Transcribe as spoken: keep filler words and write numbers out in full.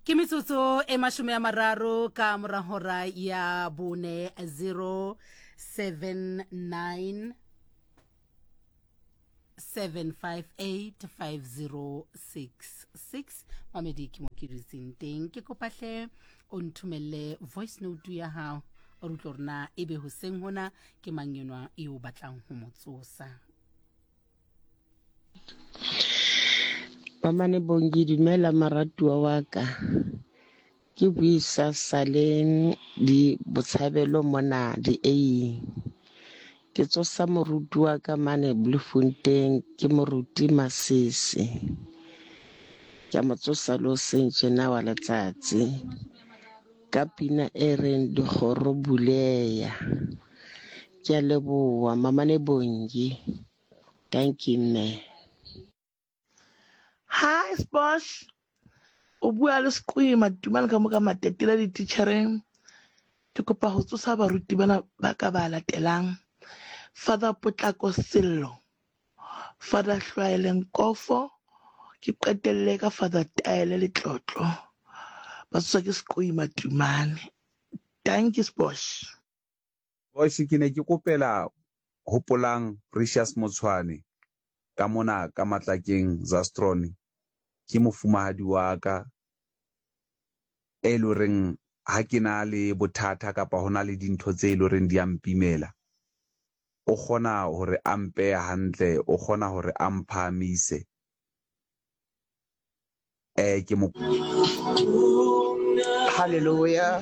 Ke metsotso e mashome a mararo ka mora hora ya bone, zero seven nine seven five eight five zero six six. Mamedi, ke mo ke dutseng teng, ke kopahle o nthomelle voice note ya hao, o re utlwe hore na ebe hoseng hona ke mang enwa eo batlang ho mo tsosa. Mamane Bongi, dumela moratuwa wa ka. Ke buisa saleng di botshabelo mona di eighing. Ke tsosa moruti wa ka mane Bloemfontein, ke moruti Masisi. Ke a mo tsosa le hoseng tjena wa letsatsi. Ka pina e reng dikgoro buleya. Ke a leboha Mamane Bongi. Thank you, mme. Hi Sposh, o bua le Seqwima Tumane ka mo ka matetela dititjhereng. Ke kopa ho tsosa baruti bana ba ka ba latelang. Father Potlako Sello, Father Hlwaele Nkofo, ke qetelle ka Father Taele Letlotlo. Ba tsoswa ke Seqwima Tumane. Thank you Sposh. Bosh, ke ne ke kopela hopolang Precious Motshwane ka mona ka Matlakeng Zastron. Ke mofumahadi wa ka e le horeng ha ke na le bothata kapa hona le dintho tse e le horeng di a mpimela, o kgona hore a mpehe hantle, o kgona hore a mphahamise. Eh, ke mo Hallelujah.